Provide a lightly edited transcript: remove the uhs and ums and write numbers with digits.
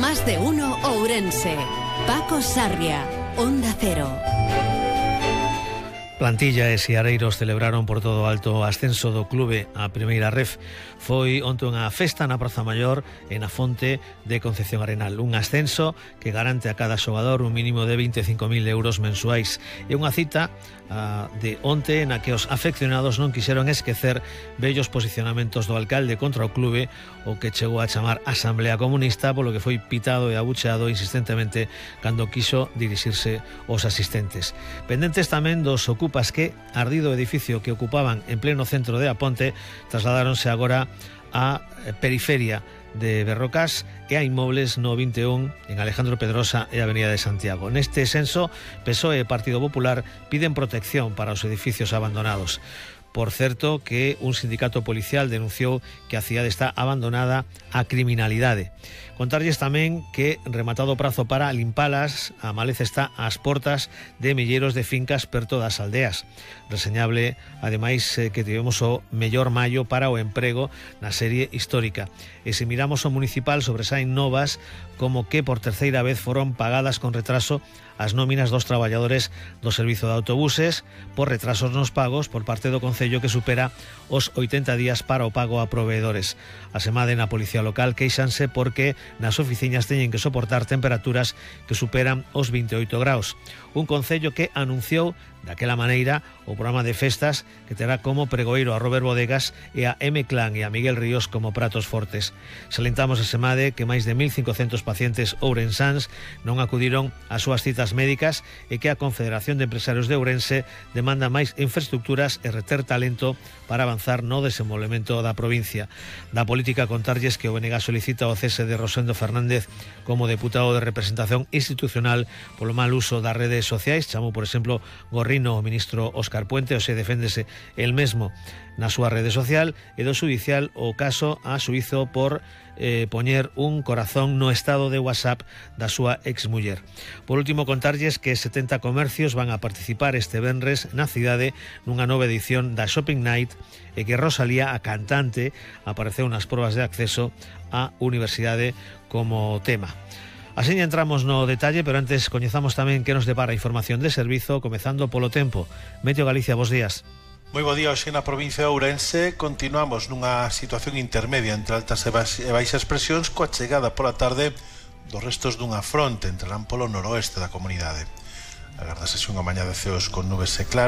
Más de uno Ourense. Paco Sarria, Onda Cero. Plantilla e seareiros celebraron por todo o alto o ascenso do clube á primeira ref. Foi onte unha festa na Praza Maior e na fonte de Concepción Arenal. Un ascenso que garante a cada xogador un mínimo de 25.000 euros mensuais. E unha cita de onte na que os afeccionados non quixeron esquecer bellos posicionamentos do alcalde contra o clube, o que chegou a chamar Asamblea Comunista, polo que foi pitado e abucheado insistentemente cando quiso dirixirse aos asistentes. Pendentes tamén dos ocupas que, ardido o edificio que ocupaban en pleno centro de Aponte, trasladáronse agora á periferia de Berrocás e a inmobles no 21 en Alejandro Pedrosa e Avenida de Santiago. Neste senso, PSOE e Partido Popular piden protección para os edificios abandonados. Por certo, que un sindicato policial denunciou que a cidade está abandonada á criminalidade. Contarlles tamén que, rematado o prazo para limpalas, a maleza está ás portas de milleiros de fincas perto das aldeas. Reseñable, ademais, que tivemos o mellor maio para o emprego na serie histórica. E se miramos o municipal, sobresaen novas como que por terceira vez foron pagadas con retraso as nóminas dos traballadores do servizo de autobuses por retrasos nos pagos por parte do Concello, que supera os 80 días para o pago a proveedores. A semade na Policía Local queixanse porque nas oficinas teñen que soportar temperaturas que superan os 28 graus. Un Concello que anunciou daquela maneira o programa de festas que terá como pregoeiro a Robert Bodegas e a M-Clan e a Miguel Ríos como pratos fortes. Salentamos a semade que máis de 1.500 pacientes ourensáns non acudiron ás súas citas médicas e que a Confederación de Empresarios de Ourense demanda máis infraestructuras e reter talento para avanzar no desenvolvemento da provincia. Da política, contarlles que o BNG solicita o cese de Rosendo Fernández como deputado de representación institucional polo mal uso das redes sociais. Chamou, por exemplo, Gorrino o ministro Óscar Puente, o se deféndese el mesmo na súa rede social, e do xudicial o caso a xuízo por poñer un corazón no estado de WhatsApp da súa exmuller. Por último, contarlles que 70 comercios van a participar este venres na cidade nunha nova edición da Shopping Night e que Rosalía, a cantante, apareceu nas probas de acceso á universidade como tema. Así entramos no detalle, pero antes coñezamos tamén que nos depara a información de servizo, comezando polo tempo. Meteo Galicia, bos días. Moi bo día. Hoxe na provincia de Ourense continuamos nunha situación intermedia entre altas e baixas presións, coa chegada pola tarde dos restos dunha fronte entrarán polo noroeste da comunidade. Agárdase unha mañá de ceos con nubes e claras.